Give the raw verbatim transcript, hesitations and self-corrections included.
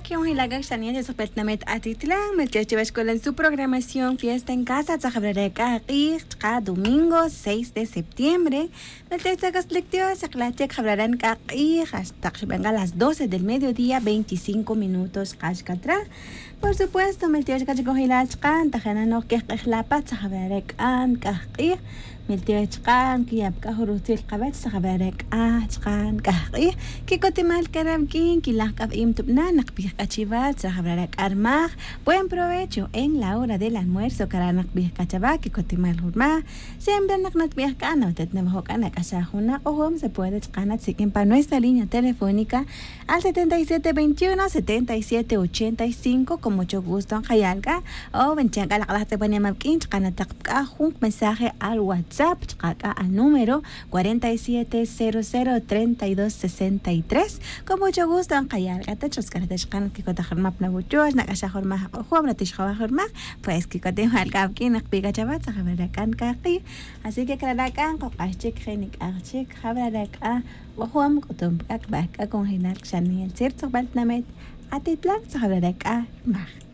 Qué bueno hilak'ak xaniel ya tzajbel tinamit atitlan meltioch chiwach kolan su programación fiesta en casa tzajabral ak'a q'ij chqa domingo seis de septiembre. Meltioch tzakaslik dios xaqlaj chik jabral ak'a q'ij hasta xub'an k'a las doce del mediodía veinticinco minutos xqa xkatraj. Por supuesto meltioch k'a chik ojilal chqa ntajena noj kej q'ij la' pa tzajabral ak'a nk'aj q'ij. Meltioch chqa nkiya' pa k'a jun rutzil qawech tzajabral ak'a chqa nk'aj q'ij. Kikotimal kara' wik'in kilaj k'a wa'im tub'na naqb'ij k'a chiwa tzajabral ak'a rmaj. Buen provecho en la hora del almuerzo kara' naqb'ij k'a chawa kikotimal jun rmaj. Siempre naq natb'ij k'a nawatet nawajo' k'a nak'axaj jun naq'ojom se puede chqa natsik'in pa nuestra línea telefónica al setenta y siete veintiuno setenta y siete ochenta y cinco como cho gusto nqayal k'a. O wen chan k'a laq'laj tz'epanima wik'in chqa nataq pa k'a jun mensaje al whatsapp chqa k'a al número cuarenta y siete cero cero treinta y dos sesenta y tres. Con mucho gusto nqayal k'a ta chos k'a nataq chqa natkikotaj rmaj pa nawuchoch nak'axaj jun rmaj aq'ojom natix jawaj jun rmaj. Pues kikotimal k'a wik'in naqb'ij k'a chawa tzajabral ak'a nk'aj q'ij. Así que kara' ak'a nqoq'ax chik je' nik'aj chik jabral ak'a q'ojom k'utum pa k'a kb'aj k'a congelar xaniel tzir tzojb'al tinamit. Atitlan tzajabral ak'a rmaj.